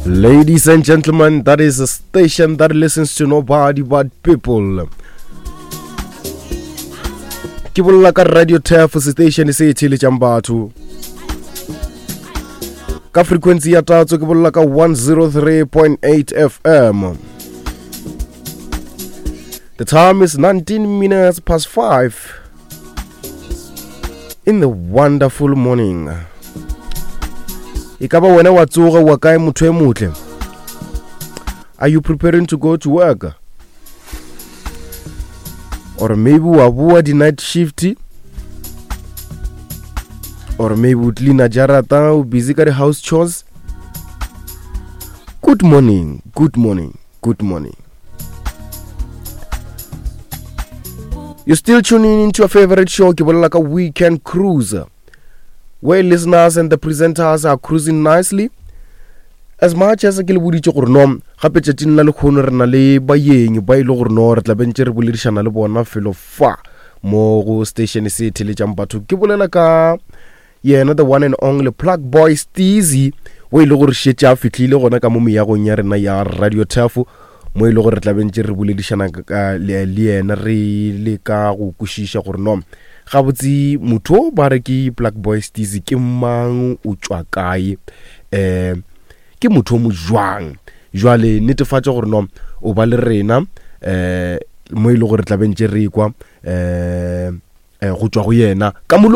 Ladies and gentlemen, that is a station that listens to nobody but people. Ke bolela ka Radio Turf station se e theeletšang batho. Ka frequency ya tatso ke bolela ka 103.8 FM. The time is 19 minutes past 5 in the wonderful morning. E ka ba wena wa tsoga wa kae motho e motle? Are you preparing to go to work? Or maybe wa boa di night shift? Or maybe o cleaner jarata o busy ka di house chores? Good morning, good morning, good morning. You're still tuning into your favorite show, ke bolela ka Weekend Cruise, where listeners and the presenters are cruising nicely. As much as ke le boditše gore no gape tšatšing la lekgono re na le baeng ba e le gore no re tla bentše re boledišana le bona felo fa mo go station se theletšang batho ke bolela ka yena the one and only plug boy Steezy o e le gore šetše a fihlile gona ka mo meagong ya rena ya radio turf mo e le gore re tlabentše re boledišana le yena re le ka go kwešiša gore no gabotse motho o ba re ke plug boy Steezy ke mang o tšwa kae um ke motho o mo jwang jwale netefatša gore no o ba le rena um mo e le gore tlabentše re kwa um go tšwa go yena ka molo.